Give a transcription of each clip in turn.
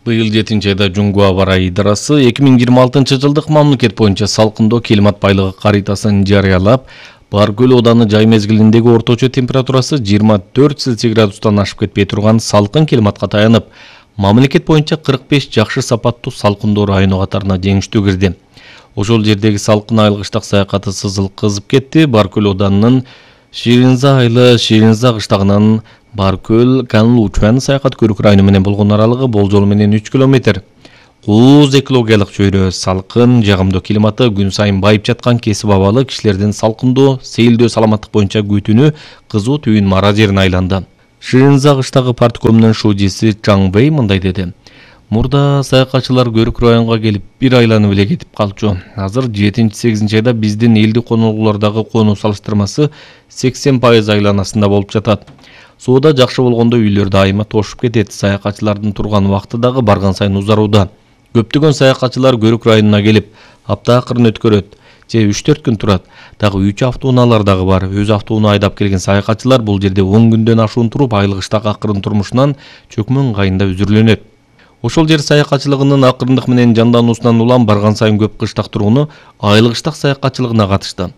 Быйыл 7-айда Жунгу аба ырайы идарасы 2026-жылдык мамлекет боюнча салкындоо климат байлыгы каритасын жарыялап, Баркөл ооданы жай мезгилиндеги орточо температурасы 24 Цельсий градустан ашып кетпей турган салкын климатка таянып, мамлекет боюнча 45 жакшы сапаттуу салкындоо району катарына жеңиштүү кирди. Ошол жердеги салкын айылгыштак саякаты сызыл кызып кетти. Баркөл оодарынын Ширинза айылы Ширинза кыштагынан Баркөл Канлучан саякат көрүк району менен болгон аралыгы болжол менен 3 километр. Кууз экологиялык чөйрө, салкын, жагымдуу климаты күн сайын байып жаткан кесип абалы кишилердин салкындоо, сейилдөө саламаттык боюнча күтүүнү кызуу түйүн мара жерине айланды. Ширинза кыштагы парткомунун шуудиси Чаң Бэй мындай деди. Мурда саякатчылар көрүк районго келип бир айланып эле кетип калчу. Азыр 7-8 айда биздин элдик конолгулардагы конуу салыштырмасы 80% айланасында болуп жатат. Сууда жакшы болгондо үйлөр дайыма тошуп кетет. Саякатчылардын турган убакыты дагы барган сайын узарууда. Көптөгөн саякатчылар көрүк районуна келип, апта акырын өткөрөт, же 3-4 күн турат. Дагы 3 автоунаалар дагы бар. Өз автоуна айдап келген саякатчылар бул жерде 10 күндөн ашуун туруп, айылгыштак акырын турмушунан чөкмөн ыңгайында үзүрлөнөт. Ошол жер саякатчылыгынын акырындык менен жандануусунан улам барган сайын көп кыштак тургуну айылгыштак саякатчылыгына катышты.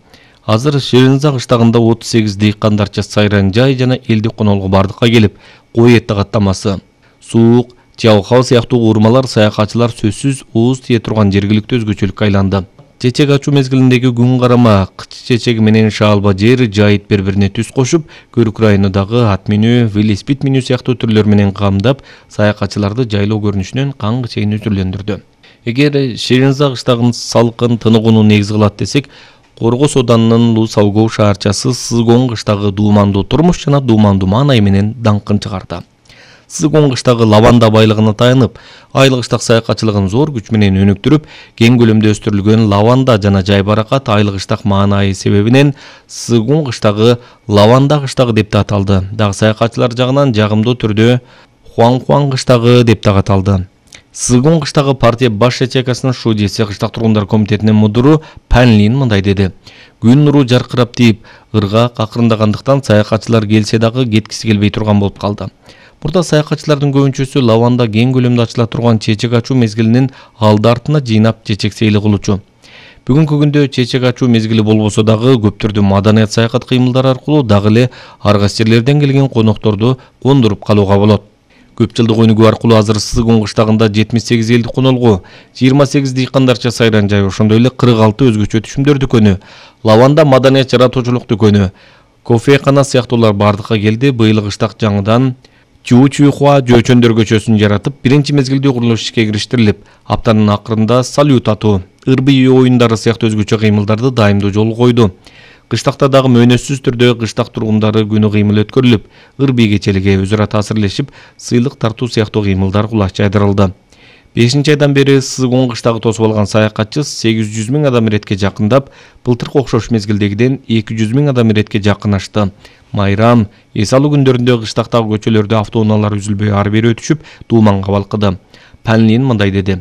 Азыр Ширинза кыштагында 38 дыйкандарча сайран жай жана элдик конолго бардыкка келип, кой эти каттамасы, суук, чалкал сыяктуу уурмалар саякатчылар сөзсүз ууз тие турган жергиликтүү өзгөчөлүккө айланды. Чечек ачуу мезгилиндеги күн карама, кыч чечеги менен шаалба жер жайыт бири-бирине түз кошуп, көрүк районундагы ат минүү, велосипед минүү сыяктуу түрлөр менен камдап, саякатчыларды жайлоо көрүнүшүнөн каңгы чейин үзүрлөндүрдү. Эгер Ширинза кыштагын салкын тыныгууну негиз кылат десек, Коргос оодарынын Лусалгоо шаарчасы Сызгон кыштагы дуумандуу турмуш жана дуумандуу маанай менен даңкын чыгарды. Сызгон кыштагы лаванда байлыгына таянып, айылгыштак саякатчылыгын зор күч менен өнүктүрүп, кең көлөмдө өстүрүлгөн лаванда жана жай баракат айылгыштак маанайы себебинен Сызгон кыштагы лаванда кыштагы деп да аталды. Дагы саякатчылар жагынан жагымдуу түрдө Хуан кыштагы деп да аталды. Сызгон кыштагы партия баш ячейкасынын шуудиси кыштак тургундар комитетинин мудуру Пан Лин мындай деди. Күн нуру жаркырап тийип, ыргаак акырындагандыктан саякатчылар келсе дагы кеткиси келбей турган болуп калды. Мурда саякатчылардын көбүнчөсү лаванда кең көлөмдө ачыла турган чечек ачуу мезгилинин алды-артына жыйнап чечек сейли кылуучу. Бүгүнкү күндө чечек ачуу мезгили болбосо дагы көптөрдүн маданият саякат кыймылдары аркылуу дагы эле арга жерлерден келген конокторду кондуруп калууга болот. Көп жылдык өнүгүү аркылуу азыр Сызгон кыштагында 78 элдик конолгу, 28 дыйкандарча сайран жай, ошондой эле 46 өзгөчө түшүмдөр дүкөнү, лаванда маданият жаратуучулук дүкөнү, кофекана сыяктуулар бардыкка келди. Быйыл кыштак жаңыдан Чуучуйхуа жөөчөндөр көчөсүн жаратып, биринчи мезгилде курулуш ишке кириштирилип, аптанын акырында салют атуу, ырбый оюндары сыяктуу өзгөчө кыймылдарды дайымдуу жолго койду. Кыштакта дагы мөөнөтсүз түрдө кыштак тургундары күнү кыймыл өткөрүлүп, ырбый кечелиге өз ара таасирлешип, сыйлык тартуу сыяктуу кыймылдар кулаш жайдырылды. 5-айдан бери Сызгон кыштагы тосуп алган саякатчы 800 000 адам иретке жакындап, былтыркы окшош мезгилдегиден 200 000 адам иретке жакынашты. Майрам, эс алуу күндөрүндө кыштактагы көчөлөрдө автоунаалар үзүлбөй ары бери өтүшүп, дууманга балкыды. Пан Лин мындай деди.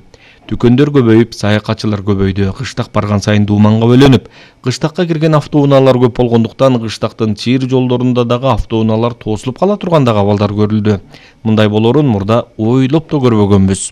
Дүкөндөр көбөйүп, саякатчылар көбөйдү. Кыштак барган сайын дууманга бөлөнүп, кыштакка кирген автоунаалар көп болгондуктан кыштактын чыйыр жолдорунда дагы автоунаалар тосулуп кала турган дагы абалдар көрүлдү. Мындай болоорун мурда ойлоп да көрбөгөнбүз.